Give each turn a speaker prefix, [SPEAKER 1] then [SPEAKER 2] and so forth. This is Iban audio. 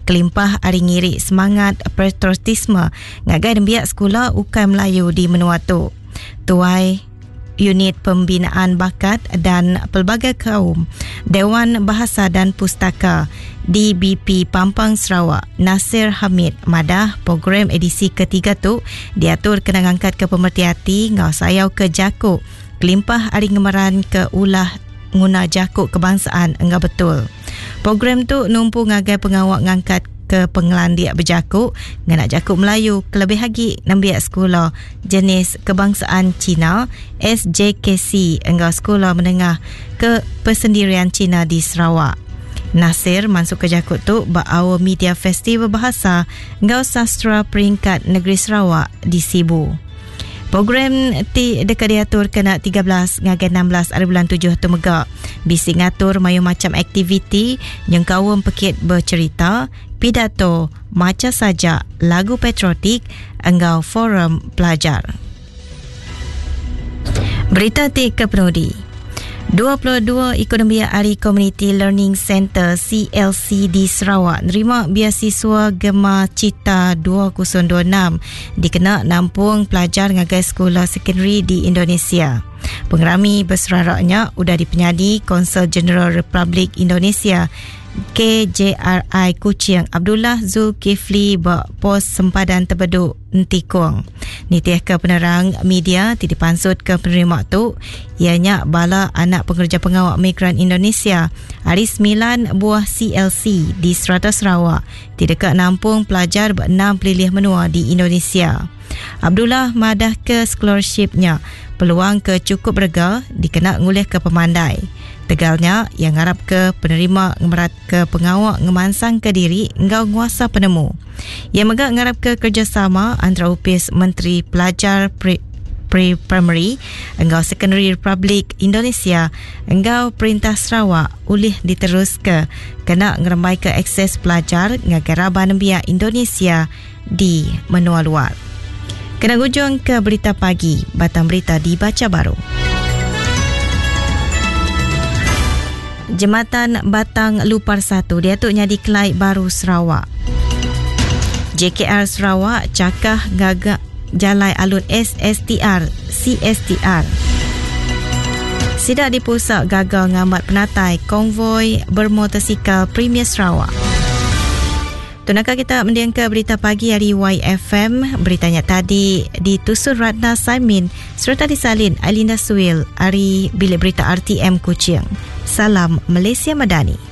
[SPEAKER 1] kelimpah ari ngiri semangat patriotisme ngagai nembiak sekula ukai Melayu di menua tu. Tuai Unit Pembinaan Bakat dan Pelbagai Kaum Dewan Bahasa dan Pustaka DBP Pampang Sarawak Nasir Hamid madah program edisi ketiga tu diatur kena ngangkatka pemereti ati enggau sayau ke jaku kelimpah ari ngemeranka ulah nguna jaku kebangsaan enggau betul. Program tu numpu ngagai pengawa ngangkatka pengelandik bejaku ngena jaku Melayu kelebih agi nembiak sekula jenis kebangsaan Cina, SJKC, enggau sekula menengah ke persendirian Cina di Sarawak. Nasir mansutka jaku tu ba Aum Media Festival Bahasa enggau Sastera Peringkat Negeri Sarawak di Sibu. Program ti deka diatur kena 13 ngagai 16 ari bulan tujuh tu mega bisi ngatur mayuh macham aktiviti nyengkaum pekit becherita, pidato, macha sajak, lagu patriotik enggau forum pelajar. Berita ti kepenudi. 22 iku nembiak ari Community Learning Centre CLC di Sarawak nerima biasiswa Gema Cita 2026 dikena nampung pelajar ngagai sekula sekondari di Indonesia. Pengerami beserarak nya udah dipenyadi Konsul Jeneral Republik Indonesia KJRI Kuching Abdullah Zulkifli ba Pos Sempadan Tebedu Entikong. Nitihka penerang media ti dipansutka penerima tu iya nya bala anak pengereja pengawa migran Indonesia ari semilan buah CLC di serata Sarawak ti deka nampung pelajar ba enam pelilih menua di Indonesia. Abdullah madahka scholarship nya peluang ke chukup berega dikena ngulihka pemandai. Tegal nya, iya ngarapka penerima ngemeratka pengawa ngemansangka diri enggau nguasa penemu. Iya mega ngarapka kerejasama antara Opis Menteri Pelajar Pre-Primary enggau Sekondari Republik Indonesia enggau Perintah Sarawak ulih diteruska kena ngerembaika akses pelajar ngagai raban nembiak Indonesia di menua luar. Kena ngujungka berita pagi, batang berita dibacha baru. Jematan Batang Lupar 1 diatu nyadi kelai baru Sarawak. JKR Sarawak chakah ngaga jalai alun SSTR, CSTR. Sida dipusak gaga ngambat penatai konvoi bermotosikal Premier Sarawak. Tu naka kita mendingka berita pagi ari YFM. Berita nya tadi ditusun Ratna Saimin sereta disalin Ailinda Suil ari Bilik Berita RTM Kuching. Salam Malaysia Madani.